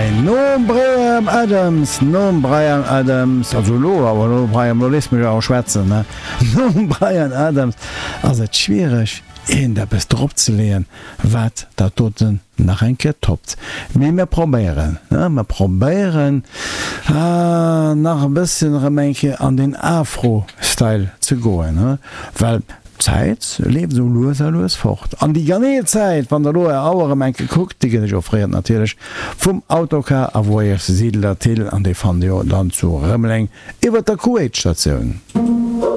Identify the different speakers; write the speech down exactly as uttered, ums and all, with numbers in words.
Speaker 1: Hei nom Bryan Adams, nom Bryan Adams, also elo, awer elo Bryan, elo léiss mech awer schwätzen, ne, nom Bryan Adams ass et schwiereg iergendeppes dropzeleeën, wat dat doten nach eng Kéier toppt. Mee mir probéieren, ne, mir probéieren nach e bësschen erëm eng Kéier an den Afro-Style ze goen, ne, well d'Zäit leeft esou lues a lues fort. An déi genee Zäit, wann Der elo Är Auer erëm eng Kéier kuckt, déi gëtt Iech offréiert natierlech vum Autocar a Voyages Siedler Thill, an déi fannt Dir jo dann zu Rëmeleng iwwert der Kuwait-Statioun.